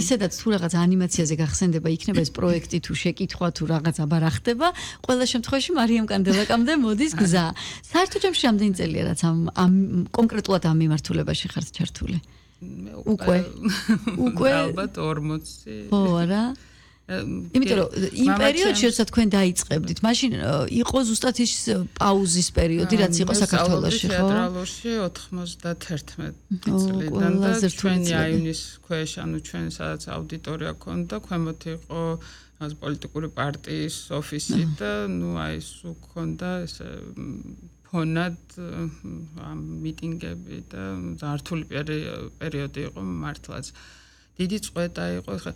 ისედაც თუ რაღაც ანიმაციაზე გახსენდება იქნება ეს პროექტი თუ შეკითხვა თუ რაღაც აბა რა ხდება, ყველა შემთხვევაში მარიამ კანდელაკამდე მოდის გზა. საერთო ჯამში რამდენი წელია რაც ამ კონკრეტულად ამ მიმართულებაში ხართ ჩართული? უკვე ალბათ 40. ხო არა? იმიტომ რომ იმ პერიოდში როცა თქვენ დაიწყებდით, მაშინ იყო ზუსტად ის პაუზის პერიოდი, რაც იყო საქართველოში, ხო? თეატრალურში 91 წლიდან და ჩვენი აივნის ქვეშ, ანუ ჩვენ სადაც აუდიტორია ქონდა, ქვემოთ იყო პოლიტიკური პარტიის ოფისი და აი ეს ქონდა ეს ფონად მიტინგები და ზართული პერიოდი იყო მართლაც. დიდი წვეთა იყო ხა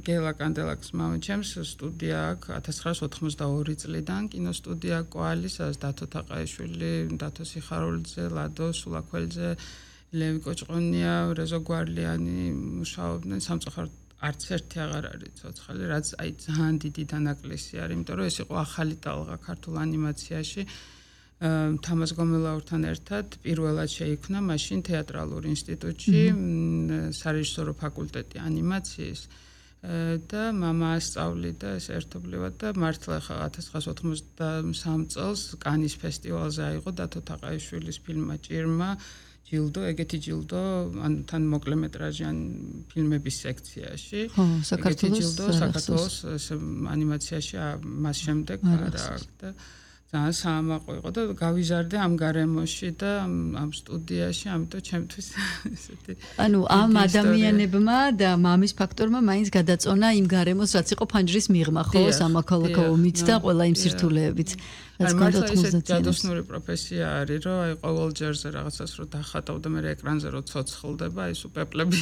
გელა კანდელაკის მამაჩემს სტუდია აქვს 1982 წლიდან კინოსტუდია კვალი, სადაც დათო თაყაიშვილი, დათო სიხარულიძე, ლადო სულაქველიძე, ლევი კოჭყონია, რეზო გვარლიანი მუშაობდნენ სამწუხაროდ არც ერთი აღარ არის ცოცხალი, რაც აი ძალიან დიდი დანაკლისი არის, იმიტომ რომ ეს იყო ახალი ტალღა ქართულ ანიმაციაში. თამაზ გომელაურთან ერთად პირველად შეიქმნა მაშინ თეატრალურ ინსტიტუტში სარეჟისორო ფაკულტეტი ანიმაციის და მამა ასწავლიდა ეს ერთობლივად და მართლა 1993 წელს კანის ფესტივალზე აიღო დათო თაყაიშვილის ფილმმა ჭირმა ჯილდო, ეგეთი ჯილდო, ანუ თან მოკლემეტრაჟიან ფილმების სექციაში. საქართველოს ანიმაციაში მას შემდეგ არა და ძალიან საამაყო იყო და გავიზარდე ამ გარემოში და ამ სტუდიაში, ამიტომ ჩემთვის ესეთი ანუ ამ ადამიანებმა და მამის ფაქტორმა მაინც გადაწონა იმ გარემოს, რაც იყო ფანჯრის მიღმა, ხო, სამოქალაქო ომით და ყველა იმ სირთულეებით. რაც მართლა ესეთი ჯადოსნური პროფესია არის, რომ აი ყოველ ჯერზე რაღაცას რო დახატავ და მე ეკრანზე რო ცოცხლდება, აი სუპეპლები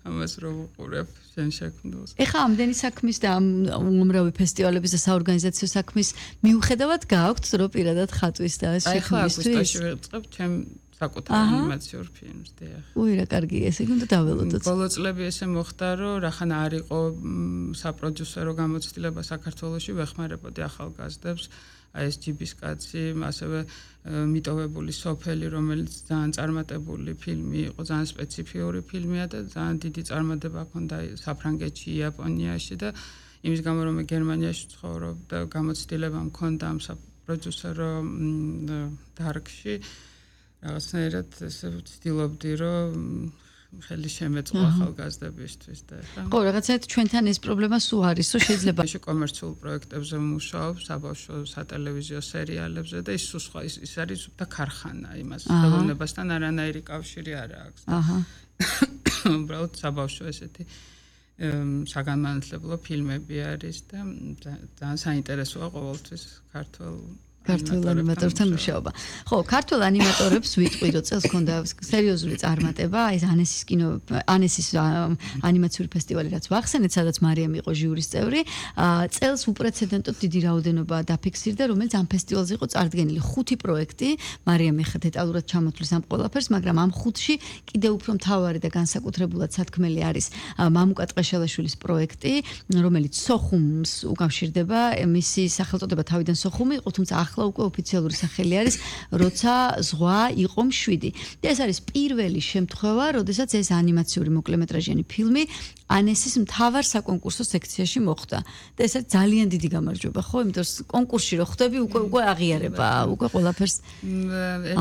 ამას რო ვუყურებ შენ შექმნილს. ეხა ამდენი საქმის და ამ უმრავი ფესტივალების და საორგანიზაციო საქმის მიუხედავად გააქვთ რომ პირადად ხატვის და შექმნისთვის. აი ხა აგვისტოში ვიწყებ ჩემ საკუთარ ანიმაციურ ფილმს, დიახ. უი რა კარგია, ესე უნდა დაველოდოთ. ბოლო წლები ესე მოხდა, რომ რახან არ იყო საპროდიუსერო გამოცდილება საქართველოში, ვეხმარებოდი ახალგაზრდებს, აი ეს ჯიბის კაცი, ასევე მიტოვებული სოფელი, რომელიც ძალიან წარმატებული ფილმი იყო, ძალიან სპეციფიური ფილმია და ძალიან დიდი წარმატება ჰქონდა საფრანგეთში, იაპონიაში და იმის გამო რომ გერმანიაში ცხოვრობ და გამოცდილება მქონდა ამ საპროდიუსერო დარგში რაღაცნაირად ესე ვცდილობდი რომ ხელი შემეწყო ახალგაზრდებისთვის და ხა ხო რაღაცაით ჩვენთან ეს პრობლემა სულ არის რომ შეიძლება კომერციულ პროექტებზე ვმუშაობ საბავშვო სატელევიზიო სერიალებზე და ის სულ სხვა ის არის და ქარხანა იმას ხელოვნებასთან არანაირი კავშირი არ აქვს აჰა უბრალოდ საბავშვო ესეთი საგანმანათლებლო ფილმები არის და ძალიან საინტერესოა ყოველთვის ქართულ ანიმატორებთან მუშაობა. ხო, ქართულ ანიმატორებს ვიტყვი, რომ წელს ქონდა სერიოზული წარმატება, აი ანესის ანიმაციური ფესტივალი, რაც ვახსენეთ, სადაც მარიამ იყო ჟიურის წევრი. წელს უპრეცედენტოდ დიდი რაოდენობა დაფიქსირდა, რომელიც ამ ფესტივალზე იყო წარდგენილი 5 პროექტი. მარიამ ეხა დეტალურად ჩამოთვლის ამ ყველაფერს, მაგრამ ამ 5-ში კიდევ უფრო მთავარი და განსაკუთრებულად სათქმელი არის მამუკა ტყეშელაშვილის პროექტი, რომელიც სოხუმს უკავშირდება, მისი სახელწოდება თავიდან სოხუმი იყო, თუმცა ახლა უკვე ოფიციალური სახელი არის, როცა ზღვა იყო მშვიდი. და ეს არის პირველი შემთხვევა, როდესაც ეს ანიმაციური მოკლემეტრაჟიანი ფილმი ანესის მთავარ საკონკურსო სექციაში მოხვდა. და ეს არის ძალიან დიდი გამარჯვება, ხო? იმიტომ რომ კონკურსში რო ხვდები, უკვე აღიარება, უკვე ყველაფერს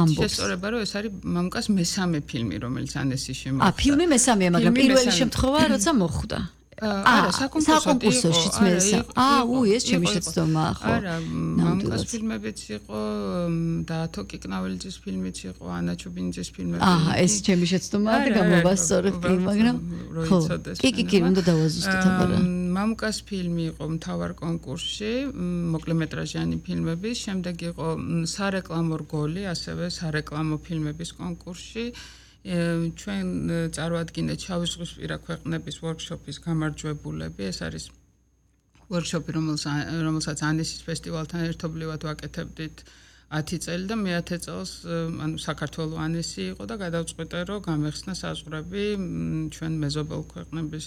ამბობს. შესწორება, რომ ეს არის მამუკას მესამე ფილმი, რომელიც ანესში მოხვდა. ფილმი მესამეა, მაგრამ პირველი შემთხვევა, როცა მოხვდა. არა, საკონკურსოშიც მე ეს ჩემი შეცდომა ხო. არა, მამუკას ფილმებიც იყო, დაათო კიკნაველიძის ფილმიც იყო, ანა ჩუბინიძის ფილმები. ეს ჩემი შეცდომაა და გამოვასწორებ კი, მაგრამ ხო. კი, უნდა დავაზუსტოთ აბა. მამუკას ფილმი იყო მთავარ კონკურსში, მოკლემეტრაჟიანი ფილმების, შემდეგ იყო სარეკლამო რგოლი, ასევე სარეკლამო ფილმების კონკურსში. ჩვენ წარვადგინეთ შავი ზღვისპირა ქვეყნების ვორქშოპის გამარჯვებულები. ეს არის ვორქშოპი, რომელსაც ანესის ფესტივალთან ერთობლივად ვაკეთებდით 10 წელი და მე-10 წელს ანუ საქართველოს ანესი იყო და გადავწყვიტე, რომ გამეხსნა საზღვრები ჩვენ მეზობელ ქვეყნების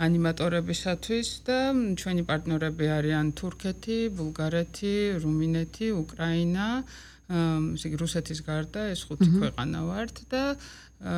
ანიმატორებისათვის და ჩვენი პარტნიორები არიან თურქეთი, ბულგარეთი, რუმინეთი, უკრაინა, რუსეთის გარდა ეს 5 ქვეყანა ვართ და